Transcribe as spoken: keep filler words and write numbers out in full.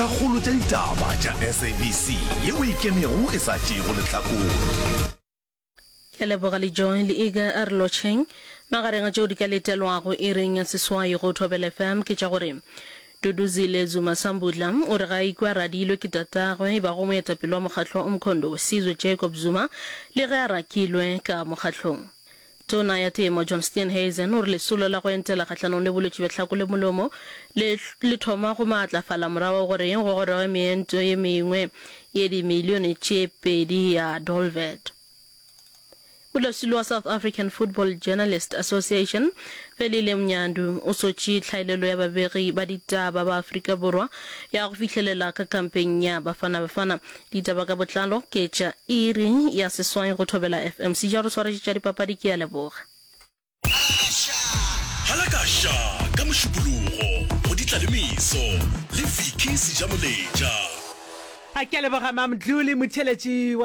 Dintlhakgolo tša ditaba tša SABC yeo e ikemego e sa tšeego lehlakore. Ke a leboga le Joy le Iga a re lotšheng. Magareng a tšeo di ka letelwago iring ya seswai go Thobela FM ke tša gore Duduzile Zuma Sambudla o re ga a ikwe a radilwe ke tatagwe e bago moetapele wa mokgatlo wa Umkhonto weSizwe Jacob Zuma le ge a rakilwe ka mokgatlong. Tona ya Temo John Steenhuisen o re lesolo la go entela kgahlanong le bolwetši bja tlhako le molomo le le thoma go maatlafala morago ga gore go goroge meento ye mengwe ye dimilione tše pedi ya Dolvet. Modulasetulo wa South African Football Journalist Association, Velile Mnyandu, o sotše tlhaelelo ya babegi ba ditaba ba Afrika Borwa ya go fihlelela ka kampeng ya Bafana Bafana. Ditaba ka botlalo ke tša iri ya seswai go Thobela FM. Seja o re swaretše tša dipapadi, ke a leboga. Halakaša ka Mošupologo go di tla le meso le Vicky Sejamoletša. A ke a leboga Mam Dluli, motheeletši wa.